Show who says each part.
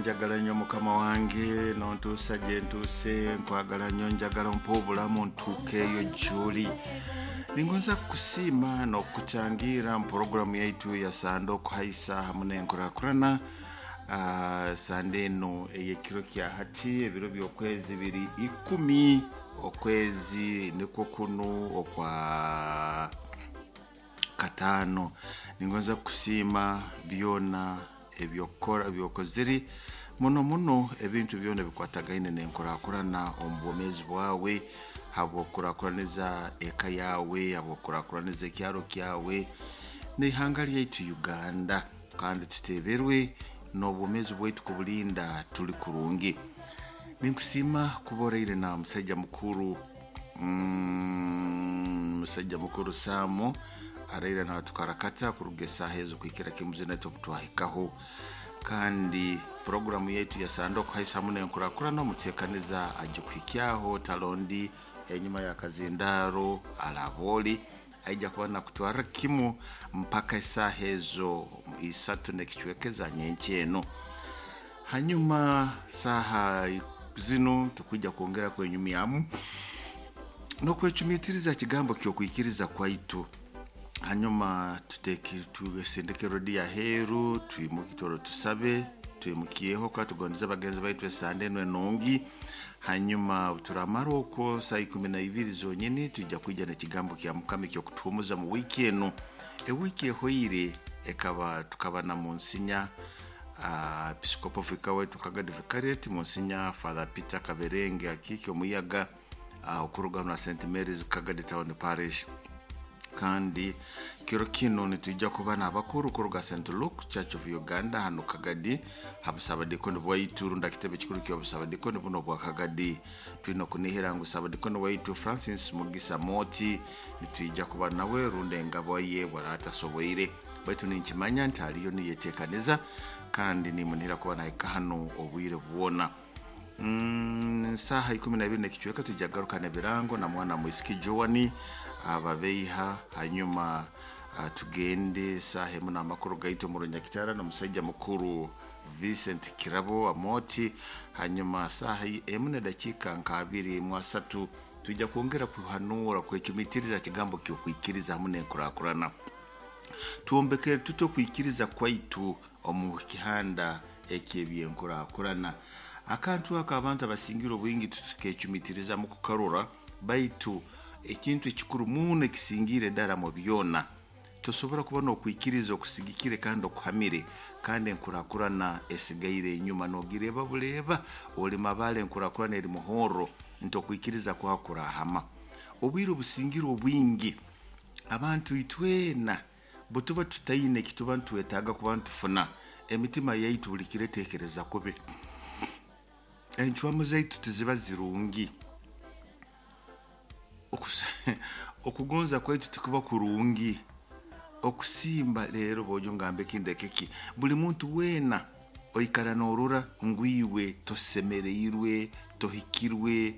Speaker 1: Wanjagala nnyo Mukama wange, nontuusa gye ntuuse. Nkwagala nnyo, njagala ompa obulamu ntuukeeyo gy'oli. Ningonza kukusiima n'okukutangira mu poroguramu yaitu ya Sande Okuhaisa hamu n'Enkurakurana. Sande eno ey'ekiro kya hati, ebiro by'okwezi biri 10, okwezi nikwo kunu okwa kataano. Ningonza kukusiima byona ebyokukora, ebyokozire muno muno, ebintu byona ebikwatagaine n'enkurakurana omu bwomeezi bwawe, habw'okukurakuraniza eka yawe, habw'okukurakuraniza ekyaro kyawe n'ihanga lyaitu Uganda, kandi tuteberwe n'obwomeezi bwaitu kubulinda tuli kurungi. Ninkusiima kuba oraire na musaija mukuru, musaija mukuru Saamu araire natukarakata kuruga esaaha ezo kuhikira kimu zina obutwahikaho. Kandi puroguramu yaitu ya Sande Okuhaisa hamu n'Enkurakurana, omuteekaniza agikuhikyaho talondi enyuma ya kazindaaro alabooli aija kuba nakutwarra kimu mpaka esaaha ezo 3 n'ekicweka eza nyenkya eno. Hanyuma saaha zinu tukwija kwongera kwenyumyamu n'okwecumitiriza kigambo ky'okwikiriza kwaitu. Hanyuma tuteke, tusindike rediyo aheeru, twimuke toro tusabe, twimukyeho ka tugondeze bagenzi baitu esande eno enungi. Hanyuma turamara okwo saa 12 zonyini, tujja kwija n'ekigambo kya Mukama ekyokutuhumuza mu wiiki eno. Ewiiki ehoire ekaba tukaba na Monsinya Episcopal Vicar waitu Kagadi Vicariate, Monsinya Father Peter Kaberenge Akiiki Omuyaga, okuruga na St Mary's Kagadi Town Parish. Kandi kiro kino nitwijja kuba n'abakuru kuruga St Luke Church of Uganda hano Kagadi, habusabadikoni bwaitu runda kitebe kikuru ky'obusabadikoni buno bwa Kagadi. Twine okunihira ngu sabadikoni waitu Francis Mugisa Moti nitwija kuba nawe, runda engabo ye bwaratasoboire, baitu ninkimanya nti aliyo niyetekaniza, kandi nimunihira kuba nahika hano obwire bwona. Saaha 12 n'ekicweka tujja kugaruka n'ebirango na mwana mwisiki Joani ababeiha. Hanyuma tugende saaha 1 n'amakuru gaitu omu Runyakitara n'omusaija mukuru Vincent Kirabo Amoti. Hanyuma saaha 1 n'edakiika nka 23 tujja kwongera kuhanura, kwecumitiriza kigambo ky'okwikiriza hamu n'enkurakurana. Twombekere tuti okwikiriza kwaitu omu kihanda eky'ebyenkurakurana? Akantu ako abantu abasingira obwingi tukecumitiriza mu kukarora, baitu ekintu ekikuru muno ekisingire ddala mu byona, tosobora kuba n'okwikiriza okusigikire kandi okuhamire kandi enkurakurana esigaire enyuma, nogireba buleeba oli mabale, enkurakurana eri muhorro, nti okwikiriza kwawe kurahama. Obwire obusingire obwingi abantu itwena bwetuba tutaine ekituba nitwetaaga kuba nitufuna, emitima yaitu buli kiro etekereza kubi, encwamu zaitu tiziba zirungi, okugonza kwaitu tikuba kurungi, okusimba leero bojo ngambe kindeke ki, buli muntu weena oikara norora ngu iwe tosemereirwe, tohikirwe.